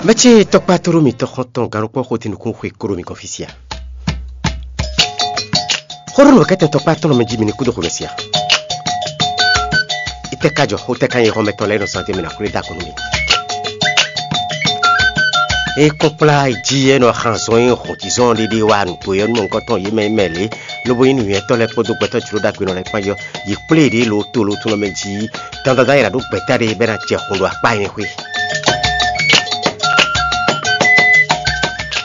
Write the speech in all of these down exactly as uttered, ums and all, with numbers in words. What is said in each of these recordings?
Mɛ ce tɔkpá tlóló mitɔn xɔ́ntɔn gannukpɔ́ xo dín nukúnxwe kó ɖo mi gɔ́n fí sia? Xó ɖó nǔ kɛ́tɛn tɔkpá tɔn mɛ jí mi ní kúdó xomɛ sia? Itɛ́ ka jɔ xó tɛ́ ka nyí xɔ́mɛtɔn lɛ́ɛ nɔ zán dé mi ná xwlé dó akɔn nú mi? É kpɔ́n kplá jí é nɔ xan zɔn e hɔn jǐzɔn ɖéɖé wá nǔgbó é nú mɔ̌hunkɔtɔn yě mɛ e mɛ lě, lobo nyí nǔnywɛ́tɔ́ lɛ́ɛ kpódó gbɛtɔ́ jló ɖagbe nɔ lɛ́ɛ kpán yɔ yi kplé ɖě lo to lo tunɔ mɛ jí. Dandandan é ná ɖó gbɛ̌ta ɖé bɔ é ná jɛ xun ɖo akpá nyɛ xwé.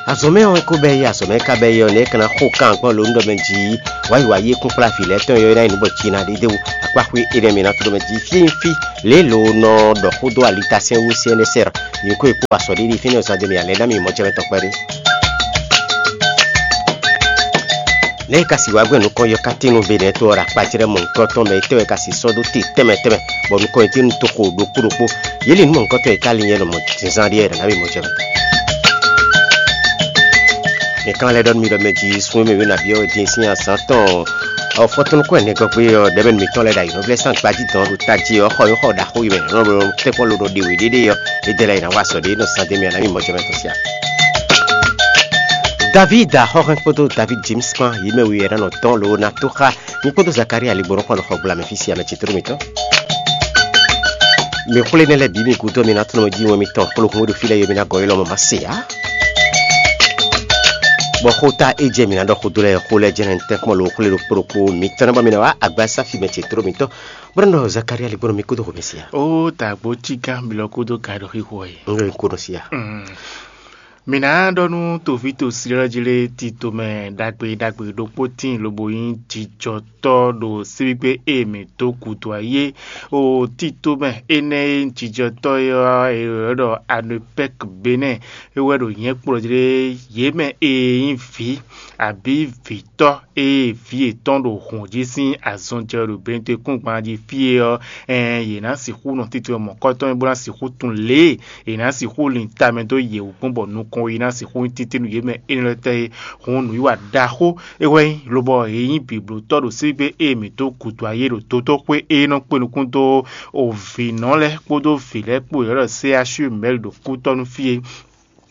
Azɔ̌ mɛ ɔ́, é ko bɛ́ yí azɔ̌ mɛ é ka bɛ́ yí ɔ́, nɛ̌ é ka ná xo kan gbɔn lo nú ɖɔ mɛ jí? Wǎ yi wǎ yi é kún kplá vǐ lɛ́ɛ tɔn yɔ é ná nyí nǔ bɔ jí ná ɖe dó akpá xwé énɛ́ mɛ ná to ɖɔ mɛ jí fí nyí fí lě lo nɔ ɖɔ xó dó alitasɛ́n wú sɛ́nɛsɛ́r. Nyǐkɔ e kpó asɔ̌ ɖé ɖi fínɛ́ zán dó mì ǎ lɛ́ɛ ná mì mɔ jɛ mɛ tɔn kpɛɖé. Nɛ̌ è ka si wá gbɛn nukɔn yɔkátín nú Benɛ̌ to ɔ́ ɖo akpajlɛ́ mɔ̌hunkɔtɔn mɛ? Étɛ́ wɛ ka si sɔ́ dó te tɛnmɛ tɛnmɛ, bɔ nukɔn e jí nu toxo ɖokpó ɖokpó? Yě lin nú mɔ̌hunkɔtɔn e ka lin yɛ nɔ mɔ zínzán ɖíe wɛ ɖɔ nǎ mì mɔ jɛ mɛ. Mǐ kan lɛ́ ɖɔ nú mi ɖɔ mɛ jí sun e mɛ wěnaví ɔ́ din sín azǎn tɔn ɔ́, fɔ́tɔ́núkún ɛnɛ gɔ́ gbé ɔ́, ɖɛ̌mɛnu mǐtɔn lɛ́ɛ ɖo ayǐ nɔ vlɛ́ sín agbají dɔn ɖo tají ɔ́, xɔ nyí xɔ ɖaxó yi mɛ nɔ tɛ́nkpɔ́n lo nɔ ɖe wě ɖéɖé ɔ́, é dɛ lɛ́ɛ yi ná wa azɔ̌ ɖé nɔ zán dó mì ná mì mɔ jɛ mɛ tɔn sia. David Axɔ́hɛn kpódó David James kpán, yě mɛ we wɛ ná nɔ dɔn lo ná tó xá mi kpódó Zakaria ligbɔnɔ kpán nɔ xɔ gbla mɛ fí sia mɛ ce tlóló mǐtɔn. Mi xwlé nɛ́ lɛ́ɛ bǐ mi gúdo mi ná tlɔ́n jí wɛn mitɔn xlóhun e ɖo fí lɛ́ɛ yɔ mi ná gɔ́ yi lɔmɔ̌ ma se ǎ. Bɔ xóta e jɛ mǐ ná ɖɔ xó dó lɛ́ɛ xó lɛ́ɛ jɛ́n tɛ́nkpɔ́n lo xwlé ɖokpó ɖokpó mitɔn ná bɔ mi ná wá agbasá fi mɛ ce tlóló mitɔn, bó ná ɖɔ Zakaria ligbɔnɔ mi kúdó xomɛ sia. Ó dàgbó cí gán mi lɔ kúdó gǎn ɖo xixo ɔ́ yi. Un ɖo ko nɔ sia. Mǐ ná ɖɔ nú toví tosi lɛ́ɛ jí lé tito mɛ ɖagbe ɖagbe ɖokpó tíin lobo nyí jijɔtɔ́ ɖo síbígbe e mǐ dó gǔdo ayé. O tito mɛ énɛ́ e nyí jijɔtɔ́ é ɔ́, è ylɔ́ ɖɔ Anopɛ́k Benɛ́ɛ. É wɛ ɖo nyɛ̌ kplɔ́ jí lé yě mɛ e nyí vǐ abǐ vǐtɔ́ e vǐ yětɔn ɖo hǔn jí sín azɔn jɛ wɛ ɖo Benɛ́ɛ kúngban jí fí é ɔ́, ɛɛn yě ná sixú nɔ tito mɔ̌kɔtɔn bó ná sixú tunwun lě e è nǎ sixú lin tamɛ dó yě wú gbɔn bɔ nukɔn yi ná sixú nyí títí nú yě mɛ énɛ́ lɛ́ɛ tɛ́ é. Hǔn nǔwiwa ɖaxó é wɛ nyí lobɔ è nyí bǐblótɔ́ ɖo síbígbe e mǐ dó gǔdo ayé ɖo dotóxwé e nɔ kpé nukún dó vǐnɔ lɛ́ɛ kpódó vǐ lɛ́ɛ kpó yɔ̌ɖɔ C H U mɛ̌li ɖo kútɔ́ nú fí é.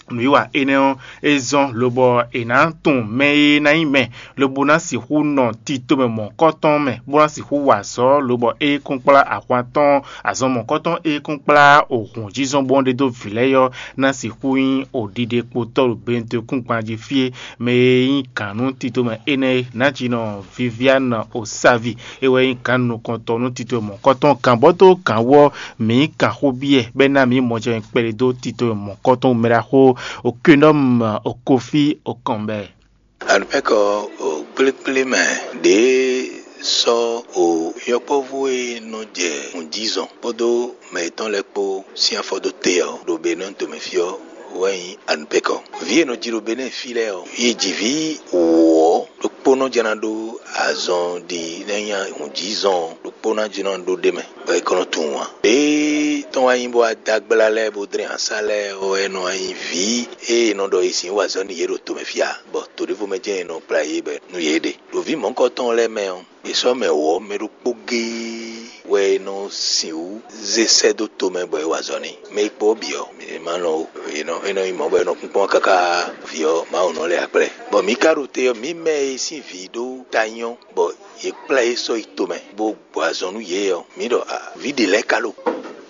Nǔwiwa énɛ́ ɔ́, é zɔ́n lobɔ è nǎ tunwun mɛ e ná nyí mɛ lobo ná sixú nɔ tito mɛ mɔ̌kɔtɔn mɛ, bó ná sixú wa azɔ̌, lobɔ é kún kplá ahwan tɔn azɔn mɔ̌kɔtɔn e kún kplá ohun jínzɔ́n bó ɖe dó vǐ lɛ́ɛ ɔ́, ná sixú nyí oɖiɖekpotɔ́ ɖo Benɛ́ɛ kúngban jí fí é. Mɛ e nyí gǎn nú tito mɛ énɛ́ é, Nǎjínɔ Viviane Osavi, é wɛ nyí gǎn nukɔntɔn nú tito mɔ̌kɔtɔn gǎnbɔ́ dó gǎn wú ɔ́, mǐ kan xó byɔ́ ɛ bɔ é ná mǐ mɔjɛmɛ kpɛɖé dó tito mɔ̌kɔtɔn mɛ ɖaxó Okenɔm Okofi Okɔnbɛ. Alupɛkɔ o kplékplé mɛ ɖě sɔ́ o yɔkpɔ́vú e nɔ jɛ nǔjízɔn kpódó mɛ yětɔn lɛ́ɛ kpó sín afɔ dó te ɔ́, ɖo Benɛ́ɛ tomɛ fí ɔ́ wɛ nyí Alupɛkɔ. Vǐ e nɔ ji ɖo Benɛ́ɛ fí lɛ́ɛ ɔ́, yě ji vǐ wǒ ɔ́, ɖokpónɔ jɛ́n ná ɖó azɔn ɖi nɛ́ nyí nǔjízɔn, ɖokpónɔ jɛ́n ná ɖó ɖ'é mɛ, bɔ é kɔn nɔ tunwun ǎ. Lě tɔn wá nyí bó wá dó agbla lɛ́ɛ bó dlɛ́n asá lɛ́ɛ ɔ́, é nɔ wá nyí vǐ e è nɔ ɖɔ è sǐ wa azɔ̌ n'i yě ɖo tomɛ fí ǎ, bɔ to ɖěvo mɛ jɛ́n è nɔ kplá yě bɔ nú yě ɖe. Ɖo vǐ mɔ̌hunkɔtɔn lɛ́ɛ mɛ ɔ́, è sɔ́ mɛ wǒ ɔ́ mɛ ɖokpó géé wɛ è nɔ sixú zé sɛ́ dó tomɛ bɔ è wa azɔ̌ n'i. Mɛ e kpo ɔ́ bǐ ɔ́, è ma lɔn ó. È nɔ é nɔ nyí mɔ̌ bɔ è nɔ kpínkpɔ́n káká vǐ ɔ́ Mawu nɔ lɛ́ akplɛ́. Bɔ mǐ ka ɖo te ɔ́, mǐ mɛ e sín vǐ ɖó ta nyɔ́ bɔ yě kplá yě sɔ́ yi tomɛ bó gbɔ azɔn nú yě ɔ́, mǐ ɖɔ a vǐ ɖě lɛ́ɛ ka lo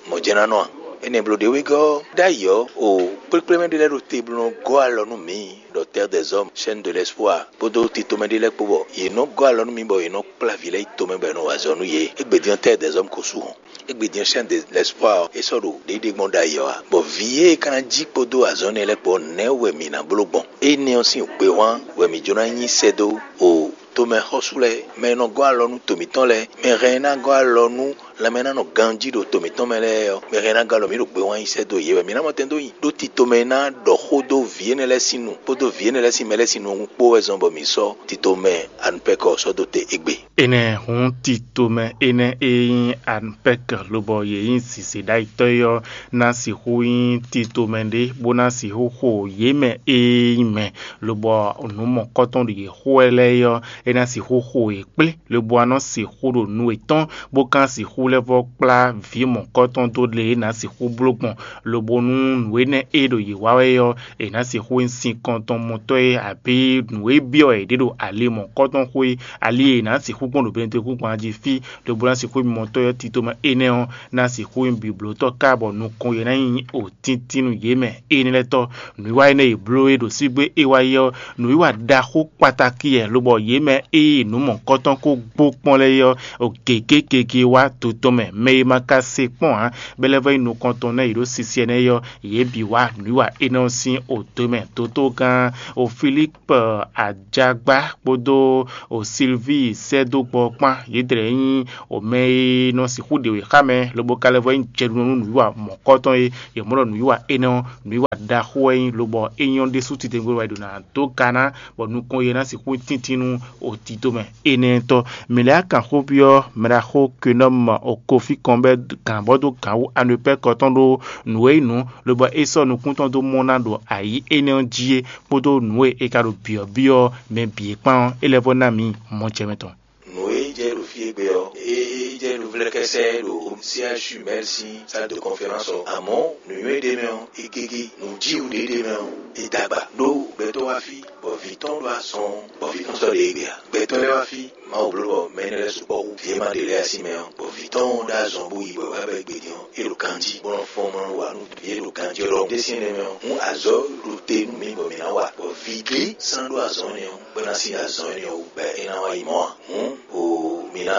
mɔ̌ jɛ́n ná nɔ a? Énɛ́ bló ɖě wegɔ́ ɔ́, ɖ'ayǐ ɔ́, o kplékplé mɛ ɖé lɛ́ɛ ɖo te bó nɔ gɔ́ alɔ nú mǐ ɖɔ Terre des Hommes, Chaîne de l'Espoir, kpódó titomɛ ɖé lɛ́ɛ kpó bɔ yě nɔ gɔ́ alɔ nú mì bɔ yě nɔ kplá vǐ lɛ́ɛ yi tomɛ bɔ è nɔ wa azɔ̌ nú yě. Égbé din ɔ́, Terre des Hommes ko su hɔn. Égbé din ɔ́, Chaîne de l'Espoir ɔ́, é sɔ́ ɖo ɖěɖe gbɔn ɖ'ayǐ ɔ́ ǎ. Bɔ vǐ e ka ná jí kpódó azɔ̌ énɛ́ lɛ́ɛ kpó ɔ́, nɛ̌ wɛ mǐ ná bló gbɔn? Énɛ́ ɔ́ sín gbehwan wɛ mǐ jló ná nyí sɛ́ dó o tomɛxɔ́sú lɛ́ɛ, mɛ e nɔ gɔ́ alɔ nú to mǐtɔn lɛ́ɛ, mɛ hɛn e ná gɔ́ alɔ nú lanmɛ e ná nɔ ganjí ɖo to mǐtɔn mɛ lɛ́ɛ ɔ́, mɛ hɛn e ná gɔ́ alɔ mǐ ɖo gbehwan nyi sɛ́ dó yě wɛ. Mǐ ná mɔ tɛn dó nyi ɖó titomɛ e ná ɖɔ xó dó vǐ énɛ́ lɛ́ɛ sín nu kpódó vǐ énɛ́ lɛ́ɛ sín mɛ lɛ́ɛ sín nu kpó wɛ zɔn bɔ mǐ sɔ́ titomɛ anupɛkɔ ɔ́ sɔ́ dó te égbé. Énɛ́ hǔn titomɛ énɛ́ e nyí anupɛkɔ lobɔ yě nyí zǐzéɖayitɔ́ é ɔ́ ná sixú nyí titomɛ ɖé bó ná sixú xo yě mɛ e nyí mɛ, lobɔ nǔ mɔ̌kɔtɔn ɖo yě xo wɛ lɛ́ɛ é ɔ́, é ná sixú xo yě kplé, lobo ná nɔ sixú ɖo nu yětɔn, bó ka ná sixú lɛ́ vɔ́ kplá vǐ mɔ̌kɔtɔn dó lě e è nǎ sixú bló gbɔn, lobo nú nǔ énɛ́ e ɖo yě wa wɛ ɔ́, è nǎ sixú nyí sinkɔntɔn mɔtɔ́ e abǐ nǔ e byɔ́ è ɖě ɖo ali mɔ̌kɔtɔn xwé, ali e è nǎ sixú gbɔn ɖo bɛ́nútɔ́ kúnkpan jí fí, lobo ná sixú nyí mɔtɔ́ ɔ́, tito mɛ énɛ́ ɔ́ ná sixú nyí biblǒtɔ́ ká, bɔ nukɔn yě ná nyí òtíntín nú yě mɛ énɛ́ lɛ́ɛ tɔ́. Nǔwiwa énɛ́ e bló é ɖo sígbé é wá yi ɔ́, nǔwiwa ɖaxó kpatakí wɛ, lobɔ yě mɛ e nǔ mɔ̌kɔtɔn ko gbó kpɔ́n lɛ́ɛ é ɔ́, o gěgé gege wá to tɔn mɛ, mɛ e ma ka se kpɔ́n ǎ, bɔ é lɛ́ vɔ́ nyí nukɔntɔn nɛ́ yě ɖo sisiɛ nɛ́ é ɔ́, yě bǐ wá nǔwiwa énɛ́ ɔ́ sín o dó mɛ. Dotó gán o Filípu Ajágbá kpódó o Silvíi sɛ́ dó gbɔ ɔ́ kpán, yědɛɛ nyí o mɛ e nɔ sixú ɖe wěxámɛ, lobo ka lɛ́ vɔ́ nyí jɛɖunɔ nú nǔwiwa mɔ̌kɔtɔn e yě mɔ ɖɔ nǔwiwa énɛ́ ɔ́, nǔwiwa ɖaxó wɛ nyí, lobɔ é nyɔ́ ɖésú titewungbe wɛ è ɖǒ ná dó ga ná, bɔ nukɔn e ná sixú nyí tíntín nú o tito mɛ énɛ́ tɔ́. Mǐ lɛ́ á kan xó byɔ́ mɛɖaxó Kenɔ́mu o Kofi kɔn bɔ é gǎn bɔ dó gǎn wú anɔ̌pɛ́kɔ tɔn ɖó nǔ e nyí nǔ, lobɔ é sɔ́ nukún tɔn dó mɔ ná ɖo ayǐ énɛ́ ɔ́ jí é, kpódó nǔ e è ka ɖo byɔ̌byɔ́ mɛ bǐ é kpán ɔ́, é lɛ́ vɔ́ ná mǐ mɔjɛmɛ tɔn. Nǔ e jɛ ɖo fí égbé ɔ́, é jɛ ɖo vlɛ́kɛ́sɛ́ ɖo C H U Mɛ́l sín salle de conférence ɔ́. Amɔ̌ nǔnywɛ́ ɖé mɛ ɔ́, é gégé. Nǔjíwǔ ɖé ɖé mɛ ɔ́, é dó agba. Ɖó gbɛtɔ́ wá fí, bɔ vǐ tɔn ɖo azɔn, bɔ vǐ tɔn sɔ́ ɖe égbé ǎ. Gbɛtɔ́ lɛ́ɛ wá fí, Mawu bló bɔ mɛ énɛ́ lɛ́ɛ sukpɔ́ hú vǐ e ma ɖe lɛ́ɛ ǎ sín mɛ ɔ́, bɔ vǐ tɔn ɖó azɔn bó yi bɔ é wá bɛ́ gbe din ɔ́, é ɖo ganjí, bó nɔ́ fɔ́n bó nɔ́ wa nú vǐ e ɖo ganjí ɔ́ ɖɔhun. Ɖésín énɛ́ mɛ ɔ́, hǔn azɔ̌ ɖo te nú mì bɔ mǐ ná wa, bɔ vǐ glé sán ɖó azɔ̌ énɛ́ ɔ́, bó ná sí azɔ̌ énɛ́ ɔ́ wú, bɔ é ná wá yi mɔ̌ ǎ. Hǔn o mǐ ná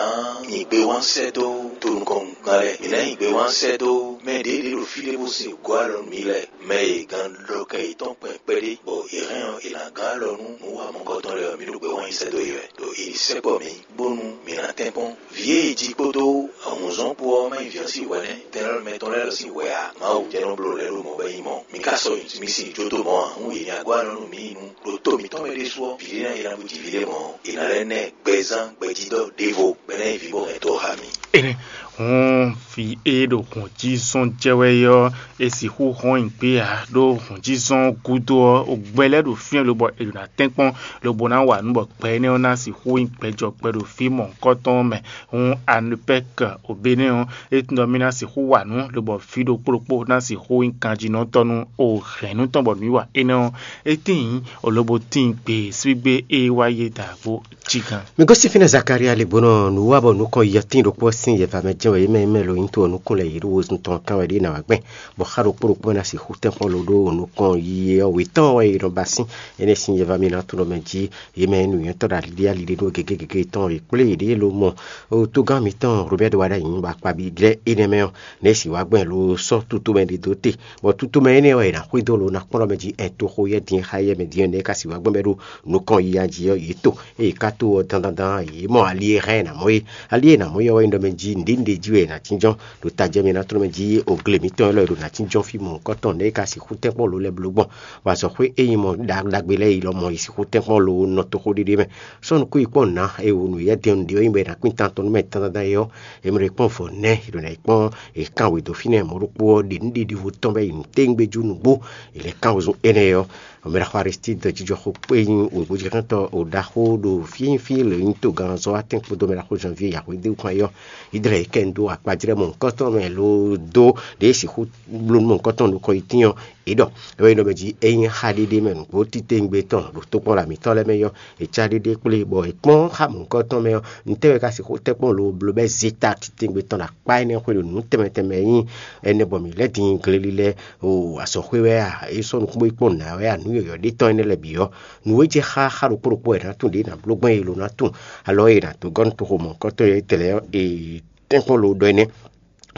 nyi gbewán sɛ́ dó tonukɔngán lɛ́ɛ; mǐ ná nyi gbewán sɛ́ dó mɛ ɖě ɖě ɖo fí ɖé bó sin gɔ́ alɔ nú mǐ lɛ́ɛ, mɛ e gan ɖɔ kɛ yětɔn kpɛn kpɛɖé, bɔ è hɛn ɔ́, è nǎ gán alɔ nú nǔ wa mɔ̌kɔtɔn lɛ́ɛ ɔ́, mǐ ɖo gbewán nyi sɛ́ dó yě wɛ, ɖo è ní sɛkpɔ́ mǐ, bónú mǐ ná tɛ́nkpɔ́n. Vǐ e jí kpódó awǔnzɔ́n kpó ɔ́ má nyí vǐ ɔ́ sín hwɛ nɛ́, tɛnlɔ́ mɛ tɔn lɛ́ɛ lɔ sín hwɛ ǎ. Mawu jɛ́n nɔ bló lɛ́ ɖo mɔ̌ bɔ é nyí mɔ̌. Mi ka sɔ́ mi sin jó dó mɔ̌ ǎ, hǔn è nyi agó alɔ nú mǐ nu ɖo to mǐtɔn mɛ ɖésú ɔ́, vǐɖé ná yi ná bú jí vǐɖé mɔ̌, è nǎ lɛ́ ná ɛ gbɛzán gbɛjídɔ́ ɖěvo, bɔ é ná nyí vǐ bó hɛn to ɔ́ xá mì. Énɛ́ hǔn vǐ e ɖo hɔn jí zɔn jɛ wɛ é ɔ́, è sixú hɔn nyi gbé ǎ, ɖó hɔn jí zɔn gúdo ɔ́, gbɛ lɛ́ɛ ɖo fínɛ́ lobɔ è ɖo ná tɛ́nkpɔ́n, lobo ná wa nǔ bɔ gbɛ énɛ́ ɔ́ ná sixú nyí gbɛjɔ gbɛ ɖo fí mɔ̌hunkɔtɔn mɛ. Hǔn Anupɛ́k Obénɛ́ ɔ́, é tunwun ɖɔ mì ná sixú wa nǔ, lobɔ fí ɖokpó ɖokpó ná sixú nyí kanjínɔtɔ́ nú o hɛ̌nnu tɔn bɔ nǔwiwa énɛ́ ɔ́, é tíin lobo tíin gbe sígbé e wá yé da gbo jí gán. Mi gosín fínɛ́ Zakalía le bó nɔ nǔ wa bɔ nukɔn yɔtín ɖokpó ɔ́ sín yɛva mɛ jɛ́n wɛ yě mɛ e mɛ lo nyí to ɔ́ nukún lɛ́ɛ yě ɖo wezun tɔn kán wɛ ɖě ná wá gbɛn, bɔ xá ɖokpó ɖokpó ná sixú tɛ́nkpɔ́n lo ɖó nukɔn yi ɔ́ wětɔn wɛ è nɔ ba sín. Énɛ́ sín yɛva mi ná tunɔ mɛ jí yě mɛ e nǔnywɛ́tɔ́ ɖo aliɖíali ɖé ɖó gěgé gěgé tɔn è kplé yěɖée lomɔ. Togán mǐtɔn Robɛ́di wá ɖ'ayǐ bɔ akpabi lɛ́ɛ énɛ́ mɛ ɔ́, nɛ̌ sì wá gbɛn lo sɔ́ tutomɛ ɖé dó te, bɔ tutomɛ énɛ́ wɛ è nǎ xwedó lo ná kplɔ́n mɛ jí ɛ toxo yɛ́ din xá yɛ mɛ din ɔ́, nɛ̌ ka sì wá gbɛn bɔ é ɖo nukɔn yiya jí ɔ́, yě to. Ée yě ka to ɔ́ dandandan ɔ́, yě mɔ ali e hɛn è nǎ mɔ é. Ali e è nǎ mɔ é ɔ́ wɛ nyí ɖɔ mɛ jí nǔɖé nǔɖé jí wɛ è nǎ tínjɔ́n, ɖo tajɛ mɛ ná tlɔ́n mɛ jí ogle mǐtɔn élɔ́ e ɖo ná tínjɔ́n fí mɔ̌hunkɔtɔn nɛ́ é ka sixú tɛ́nkpɔ́n lo lɛ́ɛ bló gbɔn, bɔ azɔ̌xwé e nyí mɔ ɖagbe lɛ́ɛ yi lɔmɔ̌ yi sixú tɛ́nkpɔ́n lo nɔ toxo ɖéɖé mɛ. Sɔ́ nukún yi kpɔ́n nǔ ná e wǒ nǔ yɛ́ din nǔɖé ɔ́ nyí bɔ è nǎ kpín tan tɔn nú mɛ dandandan é ɔ́, è mɔ ɖě kpɔ́n vɔ nɛ́ è ɖǒ ná yi kpɔ́n è kán wě dó fínɛ́ mɔ̌ ɖokpó ɔ́ ɖe nǔ ɖiɖi vo tɔn bɔ é yi nǔ téwúngbéjú nǔgbó è lɛ́ kán wezun énɛ́ ɔ́. Mɛɖaxó Aristídi jijɔxɔ kpé nyí wěgbójɛ́xɛ́ntɔ́ ɖaxó ɖo fínfín lě nyí togannzɔ́watɛ́n kpódó mɛɖaxó Janvier Yahweh dó kpán yɔ. Ídlɛ yě kɛ dó akpajlɛ́ mɔ̌hunkɔtɔn mɛ ló dó ɖě sixú bló nú mɔ̌hunkɔtɔn nukɔn yi tín ɔ́, é ɖɔ é wɛ nyí ɖɔ mɛ jí é nyí xá ɖéɖé mɛ nǔgbó titewungbe tɔn ɖo tokpɔnla mǐtɔn lɛ́ɛ mɛ yɔ. È cá ɖéɖé kplé bɔ è kpɔ́n xá mɔ̌hunkɔtɔn mɛ ɔ́, ntɛ́ wɛ ka sixú tɛ́nkpɔ́n lo bló bɛ́ zé ta titewungbe tɔn ɖo akpá énɛ́ xwé ɖo nǔ tɛnmɛ tɛnmɛ e nyí ɛnɛ bɔ mǐ lɛ́ din gleli lɛ́ɛ o azɔ̌xwé wɛ a, é sɔ́ nukúngbó yi kpɔ́n nǔ ná wɛ a, nǔ yɔ̌yɔ́ ɖé tɔn énɛ́ lɛ́ɛ bǐ ɔ́, nǔ e jɛ xá xá ɖokpó ɖokpó wɛ è nǎ tunwun ɖě è nǎ bló gbɔn e è lo ná tunwun alɔ e è nǎ dó gɔ́ nú toxo mɔ̌hunkɔtɔn e tɛlɛ ɔ́, e tɛ́nkpɔ́n lo ɖɔ énɛ́.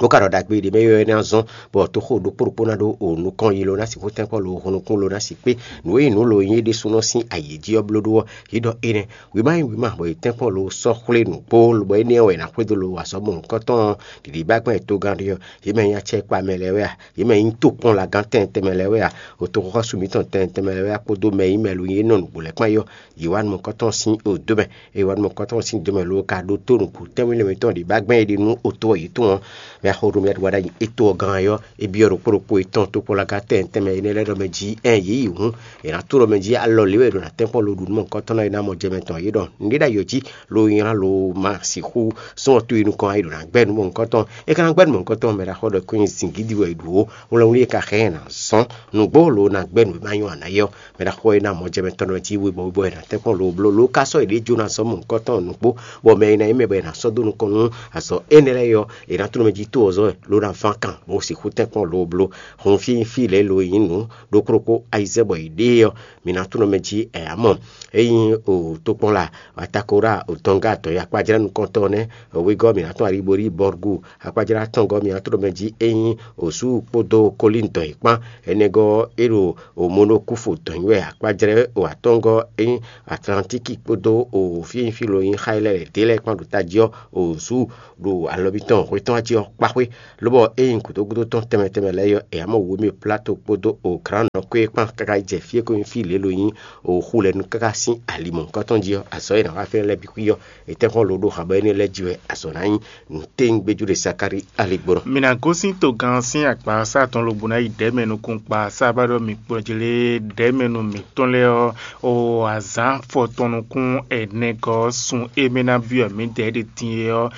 Bó ka ɖɔ ɖagbe ɖě mɛ ylɔ́ énɛ́ ɔ́ zɔ́n, bɔ toxo ɖokpó ɖokpó ná ɖó o nukɔn yi lo ná sixú tɛ́nkpɔ́n lo hun nukún lo ná si kpé nǔ e nǔ lo nyí é ɖésúnɔ sín ayǐ jí ɔ́ bló ɖó ɔ́, yě ɖɔ énɛ́. Wěma nyí wěma bɔ yě tɛ́nkpɔ́n lo sɔ́ xwlé nǔgbó, bɔ énɛ́ ɔ́ wɛ è nǎ xwedó lo azɔ̌ mɔ̌hunkɔtɔn ɔ́ ɖiɖi bá gbɛn togán ɖé ɔ́, yě mɛ nyí acɛkpa mɛ lɛ́ɛ wɛ a, yě mɛ nyí tokpɔnlagán tɛnmɛ tɛnmɛ lɛ́ɛ wɛ a, o toxɔxɔ́sú mǐtɔn tɛnmɛ tɛnmɛ lɛ́ɛ wɛ a, kpódó mɛ e nyí mɛ lo nyí é nɔ nǔgbó lɛ́ɛ kpán é ɔ́, yě wá nú mɔ̌hunkɔtɔn sín odó mɛ. Eye wá nú mɔ̌hunkɔtɔn sín do mɛ lo ka ɖótó nǔgbó tɛ́nwínlɛ́ mǐtɔn ɖě bá gbɛn é ɖe nú oto ɔ́ yě tɔn ɔ́, mɛ Xo ɖo mɛ ɖo wa ɖ'ayǐ étó ɔ́ gán ɔ́, é byɔ́ ɖokpó ɖokpó yětɔn tokpɔ́nlaga tɛnmɛ tɛnmɛ énɛ́ lɛ́ɛ ɖɔ mɛ jí ɛn yě yi hǔn, è nǎ tló mɛ jí alɔ lě wɛ è ɖo ná tɛ́nkpɔ́n lo ɖu nú mɔ̌hunkɔtɔn ɔ́ é ná mɔ jɛ mɛ tɔn. Yě ɖɔ nǔɖé ɖ'ayǐ ɔ́ jí lo nylá lo ma sixú sɔ́n ɔ tó yi nukɔn a yi ɖo ná gbɛ́ nú mɔ̌hunkɔtɔn. É ka ná gbɛ́ nú mɔ̌hunkɔtɔn mɛ ɖaxó ɖɔ kɔn nyi zǐngídi wɛ è ɖu ó, wlɛ́nwlí e ka xɛ ɛ ná zɔ́n nǔgbó lo ná gbɛ́ nǔ e ma nyɔ́ ǎ ná yɛ ɔ́, mɛ ɖaxó e ná mɔ jɛ mɛ tɔn nɔ jí webɔ webɔ è nǎ tɛ́nkpɔ́n lo bló lo ka sɔ́ yě ɖě jó ná zɔ́n mɔ̌hunkɔtɔn nǔgbó, bɔ mɛ e ná nyí mɛ bɔ è nǎ sɔ́ dó nukɔn nú azɔ̌ énɛ́ lɛ́ɛ ɔ́, è nǎ tló mɛ jí tó ɔ́ zɔ́n wɛ ló ná ván kan bó sixú tɛ́nkpɔ́n lo bló. Hun fí fí lě lo nyí nǔ ɖokpó ɖokpó ayizɛ́ bɔ yě ɖe ɔ́, mǐ ná tló mɛ jí ɛ ǎ mɔ. Ényí o tokpɔn la Atakora o Tɔnga tɔn yi akpajlɛ́ nukɔntɔn nɛ́, wegɔ́ mǐ ná tɔn Alibori Bɔrgu akpajlɛ́ atɔngɔ́ mǐ ná tló mɛ jí ényí o Sú kpódó Kolín tɔn yi kpán. Énɛ́gɔ́ é ɖo o Monokúfu tɔn yi wɛ akpajlɛ́ o atɔngɔ́ ényí Atlantíki kpódó o fí e nyí fí lo nyí xá e lɛ́ɛ ɖě lɛ́ɛ kpán ɖo tají ɔ́ o Sú ɖo alɔ mitɔn hwetɔ́n jí ɔ́ kpá xwé. Lobɔ ényí gǔdo gúdo tɔn tɛnmɛ tɛnmɛ lɛ́ɛ ɔ́, è ǎ mɔ wǔ émí Plato kpódó o Krán nɔ kɔ́ yi jɛ fí e ko nyí fí lě lo nyí o xu lɛ́ɛ nú káká sín ali mɔ̌hunkɔtɔn jí ɔ́, azɔ̌ e è nǎ wa fínɛ́ lɛ́ɛ bǐ xwí ɔ́, è tɛ́nkpɔ́n lo ɖo xabɔ énɛ́ lɛ́ɛ jí wɛ azɔ̌ ná nyí. Nǔtɛ́nyígbéjú ɖé Sakári ali gbɔn. Mi ná gosín togán sín akpasa tɔn lobo ná yi ɖɛ̌ mɛ nukúnkpa sábá ɖɔ mi kplɔ́jlé ɖɛ̌ mɛ nú mǐtɔn lɛ́ɛ ɔ́, o azǎn fɔtɔn nukún ɛnɛgɔ́ sun e mɛ ná byɔ́ mǐdɛɛ ɖe din é ɔ́,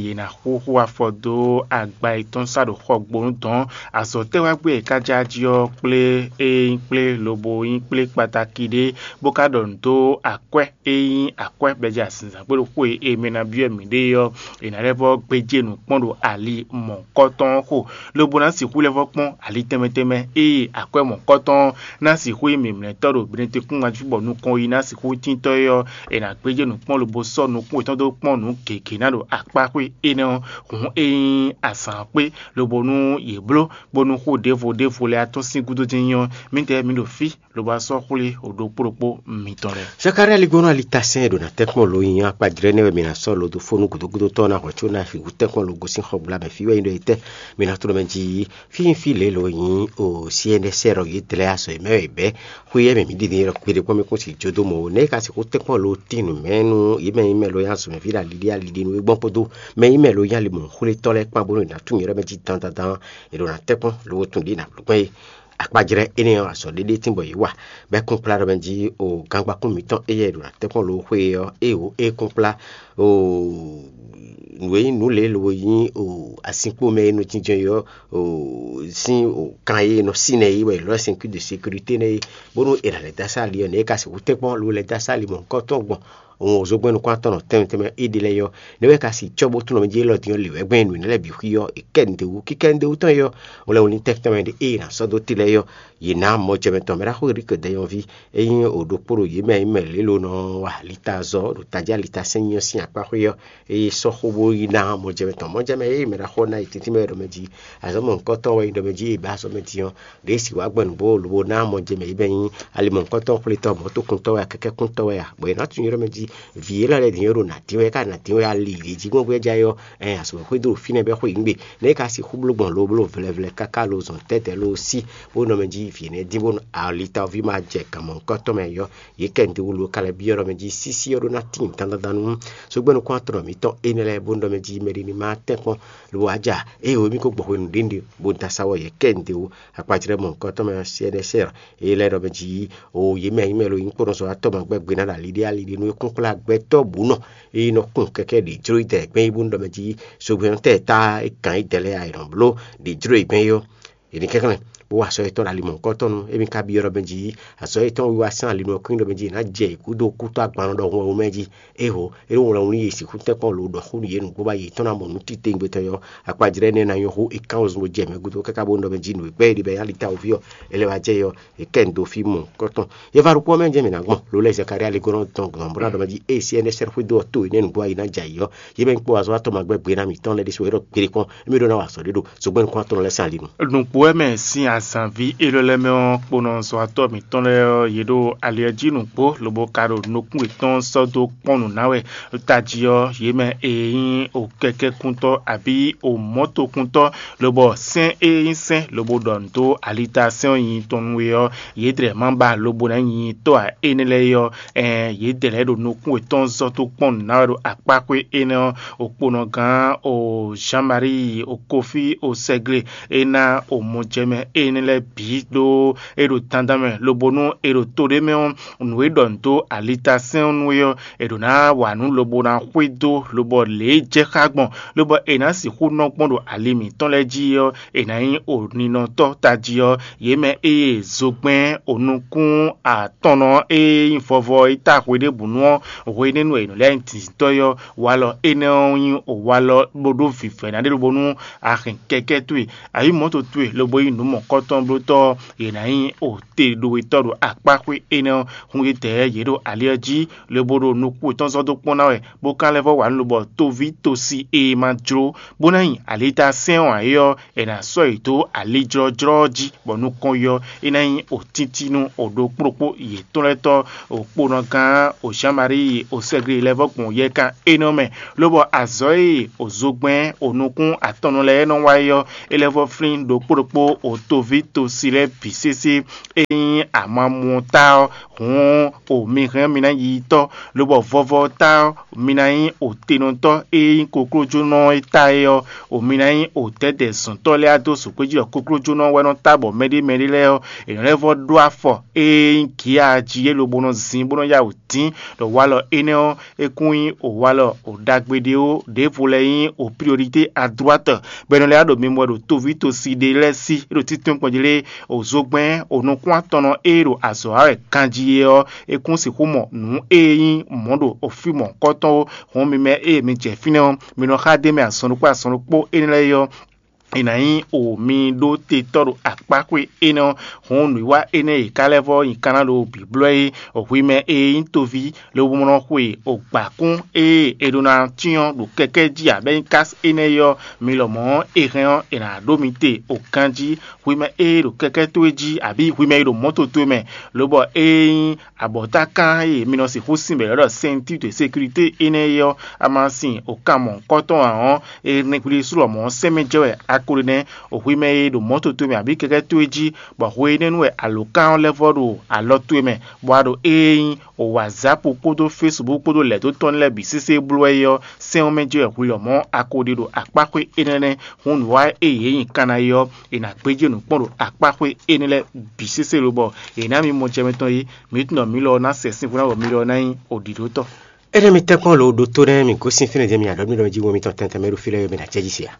yě ná xúxú afɔ dó agba yětɔn sá ɖo xɔgbónu dɔn. Azɔ̌ tɛ́ wá gbé è ká já jí ɔ́ kplé e nyí kplé lobo nyí kplé kpataki ɖé, bó ka ɖɔ nǔ dó akwɛ́ e nyí akwɛ́ bɛ́ jɛ azinzǎn kpé ɖo xó e è mɛ ná byɔ́ mǐɖée ɔ́, è nǎ lɛ́ vɔ́ gbéjé nǔ kpɔ́n ɖo ali mɔ̌hunkɔtɔn ɔ́ xo, lobo ná sixú lɛ́ vɔ́ kpɔ́n ali tɛnmɛ tɛnmɛ ée akwɛ́ mɔ̌hunkɔtɔn ɔ́ ná sixú nyí mǐmlɛ́tɔ́ ɖo mɛɖetekún ŋajú bɔ nukɔn yi ná sixú tíntɔ́ é ɔ́, è nǎ gbéjé nǔ kpɔ́n lobo sɔ́ nukún yětɔn dó kpɔ́n nǔ gěgé ná ɖo akpáxwé énɛ́ ɔ́, hǔn é nyí azǎn kpé, lobo nú yě bló, bónú xó ɖěvo ɖěvo lɛ́ɛ atɔ́n sín gúdo dín nyɔ́. Mǐdɛɛ mi ɖo fí lobo wá sɔ́ xwlé ɖokpó ɖokpó mitɔn lɛ́ɛ. Zakalía ligbɔnɔ alitasɛn e ɖo ná tɛ́nkpɔ́n lo nyi akpajlɛ́ nɛ́ wɛ mi ná sɔ́ lodofónu gǔdógúdó tɔn ná hwɛ̌ có ná fi hǔ tɛ́nkpɔ́n lo gosín xɔgbla mɛ fí wɛ nyi ɖɔ yě tɛ́ mi ná tló mɛ jí. Fí nyí fí lě lo nyí o C N S R ɔ́ yě dlɛ́ azɔ̌ e mɛ wɛ è bɛ̌. Xwé yɛ mɛ mǐ ɖi din e ɖɔ kpeɖé kpɔ́n mɛ kún si jó dó mɔ ó. Nɛ̌ é ka sixú tɛ́nkpɔ́n lo tín nǔ mɛ nú yě mɛ nyí mɛ lo nyí azɔ̌mɛví ɖo aliɖí aliɖí nú é gbɔn kpódó mɛ nyí mɛ lo nyí alimɔ̌xwlétɔ́ lɛ́ɛ kpán bónú è nǎ tunwun yě ɖɔ mɛ jí dandandan è ɖo ná tɛ́nkpɔ́n lo wo tunwun ɖě è nǎ bló gbɛn é. Akpajlɛ́ énɛ́ ɔ́, azɔ̌ ɖé ɖé tínbɔ yě wa, bɔ é kún kplá ɖɔ mɛ jí o gangba kún mǐtɔn éyɛ́ ɖo ná tɛ́nkpɔ́n lo xwé ɔ́, ée o é kún kplá o nǔ e nyí nǔ lě lo nyí o asinkpo mɛ e nɔ jínjɔ́n é ɔ́ o sín o kan e nɔ sínɛ é wɛ è nɔ ylɔ́ ceinture de sécurité nɛ́ é, bónú è nǎ lɛ́ dó asá ali ɔ́, nɛ̌ é ka sixú tɛ́nkpɔ́n lo lɛ́ dó asá ali mɔ̌hunkɔtɔn gbɔn òun ò zó gbɛ́ nukún atɔn nɔ tɛnmɛ tɛnmɛ éɖée lɛ́ɛ ɔ́, nɛ̌ wɛ ka si cɔ́ bó tlɔ́n mɛ jí élɔ́ din ɔ́ lě wɛ gbɛn nǔ énɛ́ lɛ́ɛ bǐ xwí ɔ́, è kɛ nǔɖé wú. Kíkɛ nǔɖé wú tɔn é ɔ́, un lɛ́ wlí tɛ́nkpɛ́n mɛ ɖé ée è nǎ sɔ́ dó te lɛ́ɛ é ɔ́, yě ná mɔ jɛ mɛ tɔn mɛ ɖaxó Erik dɛnyɔ́ví, é nyí o ɖokpó ɖo yě mɛ e nyí mɛ lě lo nɔ wa lita zɔ ɖo tají alita sɛn nyɔ sín akpá xwé ɔ́, ée sɔ́ xó bó yi ná mɔ jɛ mɛ tɔn. Mɔ jɛ mɛ ée mɛ ɖaxó ná yi tɛ́ntin mɛ ɖɔ mɛ jí azɔ̌ mɔ̌hunkɔtɔn wɛ nyí ɖɔ mɛ jí è bǎ azɔ̌ mɛ din ɔ́, ɖě si wǎ gbɔn nǔgbó lobo ná mɔ jɛ mɛ yě bɛ nyí alimɔ̌hunkɔtɔn xwlétɔ́ mɔ̌tokuntɔ́ wɛ a kɛkɛ́kuntɔ́ wɛ a, bɔ è nǎ tunwun ylɔ́ mɛ jí vǐ élɔ́ lɛ́ɛ din ɔ́ ɖo nǎ dín wɛ é ka nǎ dín wɛ ali ɖě jí gbɔn bó é já é ɔ́, ɛn azɔ̌ xwé dó ɖo fínɛ́ bɛ́ xwé yǐngbe. Nɛ̌ é ka sixú bló gbɔn lo bló vlɛvlɛ káká lo zɔn tɛ́tɛ́ lo sí bó nɔ mɛ jí vǐ énɛ́ dín bónú alitaví ma jɛ gǎn mɔ̌hunkɔtɔn mɛ yɔ. Yě kɛ nǔɖé wú lo ka lɛ́ byɔ́ ɖɔ mɛ jí sísí ɔ́ ɖó ná tíin dandandan nú sógbɛ́nukún atɔn mǐtɔn énɛ́ lɛ́ɛ bónú ɖɔ mɛ jí mɛɖé ní má tɛ́nkpɔ́n lobo wá ja ée wǒ mì ko gbɔ hwenu ɖěnuɖe bó da sa wɔ yě kɛ nǔɖé wú. Akpajlɛ́ mɔ̌hunkɔtɔn mɛ ɔ́, C N S R é lɛ́ ɖɔ mɛ jí o yě mɛ nyí mɛ lo nyí kpɔ́nɔzɔ́watɔ́ ma gbɛ́ gbe ná ɖo aliɖé aliɖé nú é kún kplá gbɛtɔ́ bǔ nɔ é nɔ kún kɛkɛ́ ɖě jló yi dɛ gbɛ́ yí bónú ɖɔ mɛ jí sógbɛ́nɔ́tɛ́ e tá é gǎn yi dɛ lɛ́ɛ a è nɔ bló ɖě jló yi gbɛ́ yí ɔ́. È nǐ kɛnklɛ́n bó wa azɔ̌ yětɔn ɖo ali mɔ̌hunkɔtɔn nú émí ka byɔ́ ɖɔ mɛ jí azɔ̌ yětɔn wiwa sín ali nɔ kún ɖɔ mɛ jí è nǎ jɛ yě gúdo kútɔ́ agban nɔ ɖɔhun ɔ́ mɛ jí. Ého é ɖo wlɛ́n wú nú yě sixú tɛ́nkpɔ́n lo ɖɔ xó nú yě nǔgbó ba yětɔn ná mɔ nǔ titewungbe tɔn ɔ́, akpajlɛ́ énɛ́ ná nyɔ́ hú è kán wezun bó jɛ mɛ gúdo káká bónú ɖɔ mɛ jí nǔ e gbɛ́ é ɖi bɔ é nyí alitawoví ɔ́, é lɛ́ wá jɛ yɔ è kɛ nǔ dó fí mɔ̌hunkɔtɔn. Yɛ va ɖokpó ɔ́ mɛ jɛ mǐ ná gbɔn ló lɛ́ Zakaria ligbɔnɔ tɔn gbɔn bó ná ɖɔ mɛ jí ée C N S R xwedó ɔ́ to énɛ́ nǔgbó ayi ná jɛ ayǐ ɔ́, yě mɛ nyí kpó azɔ̌watɔ́ ma gbɛ́ gbe ná mǐtɔn lɛ́ɛ ɖésú é ɖɔ kpeɖé kpɔ́n émí ɖó ná wa azɔ̌ ɖé ɖo zogbɛ́n nukún atɔn lɛ́ɛ sín ali nu. Nǔgbó wɛ mɛ sín Zǎnví élɔ́ lɛ́ɛ mɛ ɔ́, kponɔzɔ́watɔ́ mǐtɔn lɛ́ɛ ɔ́, yě ɖo ali ɔ́ jí nǔgbó, lobo ka ɖo nukún yětɔn sɔ́ dó kpɔ́n nǔ ná wɛ. Tají ɔ́, yě mɛ e nyí o kɛkɛ́kuntɔ́ abǐ o mɔ̌tokúntɔ́, lobɔ sɛ́n e nyí sɛ́n lobo ɖɔ nǔ dó alitasɛ́n ɔ́ nyi tɔn nú we ɔ́, yě dlɛ̌ ma ba lobo ná nyi tɔ́ ǎ. Énɛ́ lɛ́ɛ ɔ́, ɛɛn yě dlɛ̌ ɖo nukún yětɔn zɔ́ dó kpɔ́n nǔ ná wɛ ɖo akpáxwé énɛ́ ɔ́, okponɔgán o Jean-Marie o Kofi o Sɛgle é ná o mɔjɛmɛ énɛ́ lɛ́ɛ bǐ ɖó é ɖo dandan mɛ, lobo nú è ɖo to ɖé mɛ ɔ́, nǔ e ɖɔ nǔ dó alitasɛ́n ɔ́ nú é ɔ́, è ɖǒ ná wa nǔ lobo ná xwedó, lobɔ lě e jɛ xá gbɔn, lobɔ è nǎ sixú nɔ gbɔn ɖo ali mǐtɔn lɛ́ɛ jí ɔ́, è nǎ nyí oninɔtɔ́ tají ɔ́. Yě mɛ ée zogbɛ́n onukún atɔnnɔ e nyí vɔvɔ e ta hwe ɖěbǔ nu ɔ́, hwenɛ́nu e è nɔ lɛ́ nyí dǐndíntɔ́ é ɔ́, walɔ énɛ́ ɔ́ nyí walɔ bó ɖó vǐvɛ́ná ɖé lobo nú a hɛn kɛkɛ́ towe, a yí mɔ̌to towe lobo yí nǔ mɔ̌kɔtɔn blótɔ́ ɔ́, yě ná nyí o te ɖo wetɔ́ ɖo akpáxwé énɛ́ ɔ́, hun yědɛɛ yě ɖo ali ɔ́ jí, lobo ɖo nukún yětɔn zɔ́ dó kpɔ́n ná wɛ, bó ka lɛ́ vɔ́ wa nǔ lobɔ toví tosi e ma jló, bó ná nyi alitasɛ́n ɔ́ ǎ é ɔ́, è nǎ sɔ́ yě dó alijlɔ́jlɔ́ ɔ́ jí, bɔ nukɔn yɔ é ná nyí o tíntín nú o ɖokpóɖokpó yětɔn lɛ́ɛ tɔ́, okponɔgán o Jean-Marie o Sɛgli lɛ́ vɔ́ gbɔn yɛkan énɛ́ ɔ́ mɛ, lobɔ azɔ̌ e o zogbɛ́n o nukún atɔnnɔ lɛ́ɛ nɔ wa é ɔ́, é lɛ́ vɔ́ flín ɖokpó ɖokpó o toví tosi lɛ́ɛ bǐ sésé. E nyí amamú ɔ́ ta ɔ́, hǔn o mi hɛn mi ná yi tɔ́, lobɔ vɔvɔ ɔ́ ta ɔ́, mi ná nyí o tenɔtɔ́ e nyí koklójónɔ e ta é ɔ́, o mi ná nyí o dɛ̌dɛ̌ zɔ̌ntɔ́ lɛ́ɛ adó zǒgbéjí ɖɔ koklójónɔ wɛ nɔ ta bɔ mɛɖé mɛɖé lɛ́ɛ ɔ́, è nɔ lɛ́ vɔ́ ɖó afɔ e nyí gǐ a jí é lobo nɔ zin bó nɔ yá wǔ dín ɖɔ walɔ énɛ́ ɔ́, é kún nyí o walɔ o ɖagbe ɖé ó, ɖěvo lɛ́ɛ nyí o priorité à droite, bɔ è nɔ lɛ́ ɖo mimɔ ɖo toví tosi ɖé lɛ́ɛ sí, é ɖo títún kpɔn jí lé, o zogbɛ́n o nukún atɔnnɔ e ɖo azɔ̌ wa wɛ ganjí é ɔ́, é kún sixú mɔ nǔ e nyí mɔ̌ ɖo o fí mɔ̌hunkɔtɔn ó. Hɔn mi mɛ e mi jɛ fínɛ́ ɔ́, mi nɔ xá ɖ'é mɛ azɔn ɖokpó azɔn ɖokpó énɛ́ lɛ́ɛ é ɔ́, è nǎ nyí o mi ɖó te tɔ́ ɖo akpáxwé énɛ́ ɔ́, hɔn nǔwiwa énɛ́ e ka lɛ́ vɔ́ nyi kanna ɖo bǐblɔ́ é, hwi mɛ e nyí toví, lobo nɔ xwe o gbǎkún e è ɖó ná cyɔ́n ɖo kɛkɛ́ jí abɛ́ nyí kási énɛ́ é ɔ́, mi lɔmɔ̌ è hɛn ɔ́, è nǎ ɖó mi te o ganjí. Hwi mɛ e ɖo kɛkɛ́ towe jí abǐ hwi mɛ e ɖo mɔ̌to towe mɛ, lobɔ ée nyí abɔ̌takán e mi nɔ sixú sin bɛ̌ ɖɔ ceinture de sécurité énɛ́ é ɔ́, a ma sin o kan mɔ̌hunkɔtɔn ǎ ɔ́, è nɔ hwlí sú lɔmɔ̌ sɛ́n mɛ jɛ wɛ a ko ɖe nɛ́. O hwi mɛ e ɖo mɔ̌to towe mɛ abǐ kɛkɛ́ towe jí, bɔ hwenɛ́nu wɛ alǒkan ɔ́ lɛ́ vɔ́ ɖo alɔ towe mɛ, bɔ a ɖo ée nyí o WhatsApp kpódó Facebook kpódó lɛ̌ dó tɔn lɛ́ɛ bǐ sésé bló wɛ é ɔ́, sɛ́n ɔ́ mɛ jɛ wɛ hwi lɔmɔ̌ a ko ɖe ɖo akpáxwé énɛ́ nɛ́. Hǔn nǔ wa e yě nyi kanna é ɔ́, è nǎ gbéjé nǔ kpɔ́n ɖo akpáxwé énɛ́ lɛ́ɛ bǐ sésé lobɔ è nǎ mi mɔ jɛ mɛtɔn é. Mǐ tunwun ɖɔ mǐ lɔ ɔ́ ná sɛ sínvú ná bɔ mǐ lɔ ɔ́ ná nyí oɖǐɖótɔ́. Énɛ́ mi tɛ́nkpɔ́n lo ɖótó nɛ́ mǐ gosín fínɛ́ jɛ́n mi aɖɔ̌ mì ɖɔ mɛ jí wɛn mitɔn tɛntɛn mɛ ɖo fí lɛ́ɛ mi ná cɛ́ jí se a?